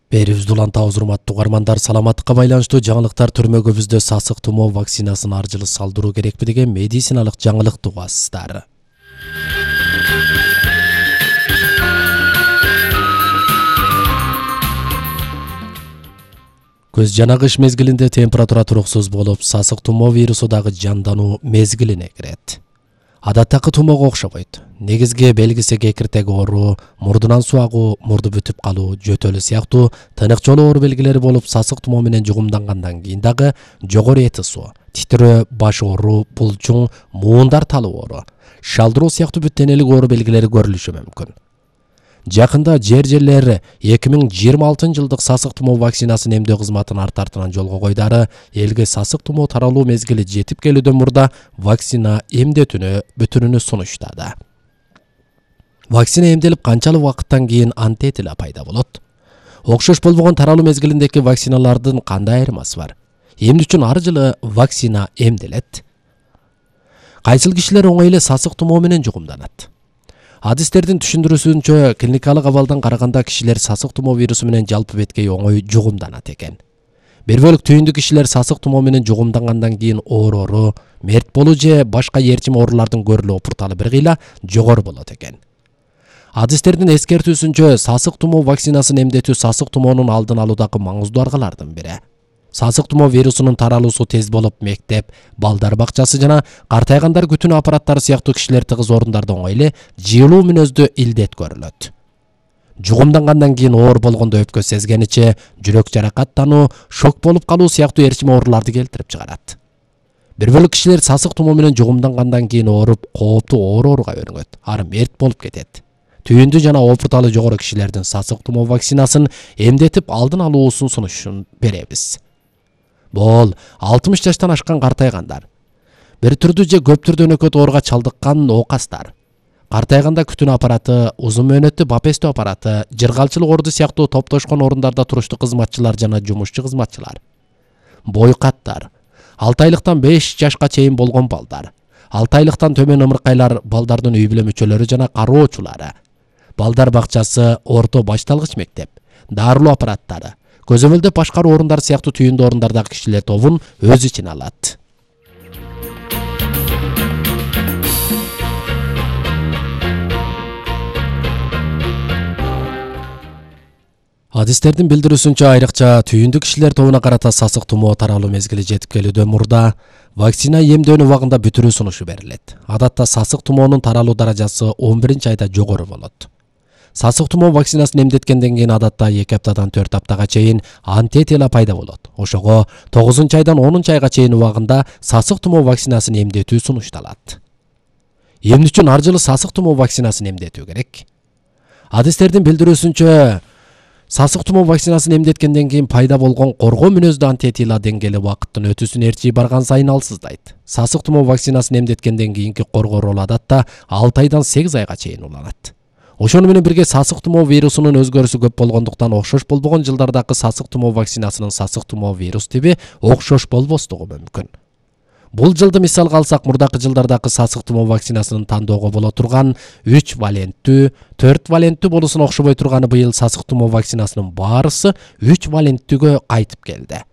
Берүүбүздү улантабыз, урматтуу угармандар. Саламаттыкка байланыштуу жаңылыктар түрмөгүбүздө сасык тумоо вакцинасын ар жылы салдыруу керекпи деген медициналык жаңылыкты угасыздар. Көз жана кыш мезгилинде температура туруксуз болуп, сасык тумоо вирусу дагы жандануу мезгилине кирет. Адаттагы тумоого окшобойт. Негизги белгиси кекиртек оору, мурдунан суу агуу, мурду бүтүп калуу, жөтөлү сыяктуу тынык жолу оору белгилери болуп, сасык тумоо менен жугумдангандан кийин дагы жогору эти суу, титирөө, баш оору, булчуң, муундар талуу оору, шалдыруу сыяктуу бүт денелик оору белгилери көрүлүшү мүмкүн. Жакында жер 2026 жылдык сасык тумоо вакцинасын эмдөө кызматын арт артынан жолго койдары элге сасык тумоо таралуу мезгили жетип келүүдөн мурда вакцина бүтүрүүнү сунуштады. Вакцина эмделип канчалык убакыттан кийин антитила пайда болот? Окшош болбогон таралуу мезгилиндеги вакциналардын кандай айырмасы бар? Эмне үчүн ар жылы вакцина эмделет? Кайсыл кишилер оңой эле сасык тумоо менен жугумданат? Адистердин түшүндүрүүсүнчө, клиникалык абалдан караганда кишилер сасык тумоо вирусу менен жалпы беткей оңой жугумданат экен. Бир бөлүк түйүндүү кишилер сасык тумоо менен жугумдангандан кийин оорору, мерт болуу же башка ээрчим оорулардын көрүлүү опурталы бир кыйла жогору болот экен. Адистердин эскертүүсүнчө, сасык тумоо вакцинасын эмдетүү сасык тумоонун алдын алуудагы маңыздуу аргалардын бири. Сасык тумоо вирусунун таралуусу тез болуп, мектеп, балдар бакчасы жана картайгандар күтүүнү аппараттары сыяктуу кишилер тыгыз орундарда оңой эле жыйылуу мүнөздүү илдет көрүлөт. Жугумдангандан кийин оор болгондо өпкө сезгениче, жүрөк жаракаттануу, шок болуп калуу сыяктуу ээрчим ооруларды келтирип чыгарат. Бир бөлүк кишилер сасык тумоо менен жугумдангандан кийин ооруп, кооптуу ооруга өрүнөт, ары мерт болуп кетет. Түйүндүү жана опурталы жогору кишилердин сасык тумоо вакцинасын эмдетип алдын алуусун сунушун беребиз. Бул 60 жаштан ашкан картайгандар, бир түрдүү же көп түрдүү өнөкөт ооруга чалдыккан оокастар, картайганда күтүүнү аппараты, узун мөөнөттүү бапестөө аппараты, жыргалчылык орду сыяктуу топтошкон орундарда туруштуу кызматчылар жана жумушчу кызматчылар, бойкаттар, 6 айлыктан 5 жашка чейин болгон балдар, 6 айлыктан төмөн ымыркайлар, балдардын үй бүлө мүчөлөрү жана кароочулары, балдар бакчасы, орто башталгыч мектеп, дарылоо аппараттары, көзөмөлдөп башкаруу орундар сыяктуу түйүндүү орундардагы кишилер тобун өз ичине алат. Адистердин билдирүүсүнчө, айрыкча түйүндүү кишилер тобуна карата сасык тумоо таралуу мезгили жетип келүүдөн мурда вакцина эмдөөнү убагында бүтүрүү сунушу берилет. Адатта сасык тумоонун таралуу даражасы 11-айда жогору болот. Сасык тумоо вакцинасын эмдеткенден кийин адатта 2 аптадан 4 аптага чейин антитила пайда болот. Ошого 9-айдан 10-айга чейин убагында сасык тумоо вакцинасын эмдетүү сунушталат. Эмне үчүн ар жылы сасык тумоо вакцинасын эмдетүү керек? Адистердин билдирүүсүнчө, сасык тумоо вакцинасын эмдеткенден кийин пайда болгон коргоо мүнөздүү антитила деңгээли убакыттын өтүүсүн ээрчий барган сайын алсыздайт. Сасык тумоо вакцинасын эмдеткенден кийинки коргоо ролу адатта 6 айдан 8 айга чейин уланат. Ошону менен бирге сасык тумоо вирусунун өзгөрүүсү көп болгондуктан окшош болбогон жылдардагы сасык тумоо вакцинасынын сасык тумоо вирус тиби окшош болбостугу мүмкүн. Бул жылды мисалга алсак, мурдакы жылдардагы сасык тумоо вакцинасынын тандоого боло турган 3 валенттүү, 4 валенттүү болуусуна окшобой турганы быйыл сасык тумоо вакцинасынын баарысы 3 валенттүүгө кайтып келди.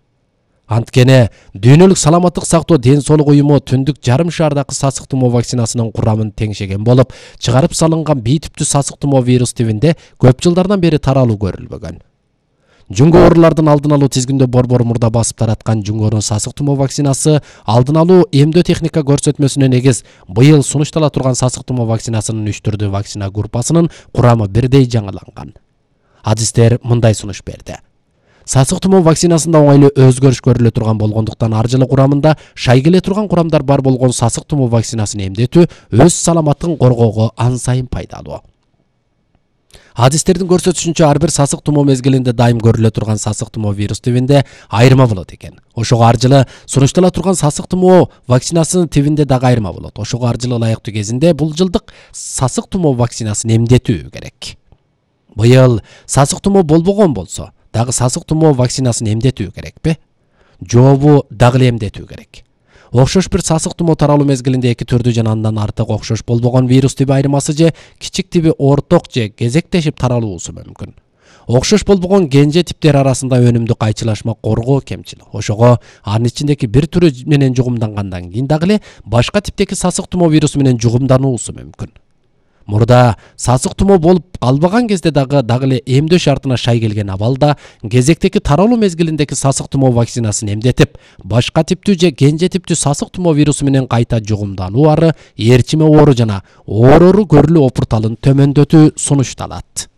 Анткени Дүйнөлүк саламаттык сактоо ден соолук уюму түндүк жарым шаардагы сасык тумоо вакцинасынын курамын теңшеген болуп, чыгарып салынган бий типтүү сасык тумоо вирус тибинде көп жылдардан бери таралуу көрүлбөгөн. Жүнгө оорулардын алдын алуу тизгиндөө борбор мурда басып тараткан жүнгөнүн сасык тумоо вакцинасы алдын алуу эмдөө техника көрсөтмөсүнө негиз быйыл сунуштала турган сасык тумоо вакцинасынын 3 түрдүү вакцина группасынын курамы бирдей жаңыланган. Адистер мындай сунуш берди. Сасык тумоо вакцинасында оңой эле өзгөрүш көрүлө турган болгондуктан ар жылы курамында шай келе турган курамдар бар болгон сасык тумоо вакцинасын эмдетүү өз саламаттыгын коргоого ан сайын пайдалуу. Адистердин көрсөтүшүнчө, ар бир сасык тумоо мезгилинде дайым көрүлө турган сасык тумоо вирус тибинде айырма болот экен. Ошого ар жылы сунуштала турган сасык тумоо вакцинасынын тибинде дагы айырма болот. Ошого ар жылы ылайыктуу кезинде бул жылдык сасык тумоо вакцинасын эмдетүү керек. Быйыл сасык тумоо болбогон болсо, дагы сасык тумоо вакцинасын эмдетүү керекпи? Жообу дагы эле эмдетүү керек. Окшош бир сасык тумоо таралуу мезгилинде 2 түрдүү жана андан артык окшош болбогон вирус тиби айырмасы же кичик тиби орток же кезектешип таралуусу мүмкүн. Окшош болбогон кенже типтер арасында өнүмдү кайчылашма коргоо кемчил. Ошого анын ичиндеги бир түрү менен жугумдангандан кийин дагы эле башка типтеги сасык тумоо вирусу менен жугумдануусу мүмкүн. Мурда сасык тумоо болуп албаган кезде дагы эле эмдөө шартына шай келген абалда кезектеги таралуу мезгилиндеги сасык тумоо вакцинасын эмдетип, башка типтүү же кенже типтүү сасык тумоо вирусу менен кайта жугумдануу ары, ээрчиме оору жана оорору көрүлүү опурталын төмөндөтүү сунушталат.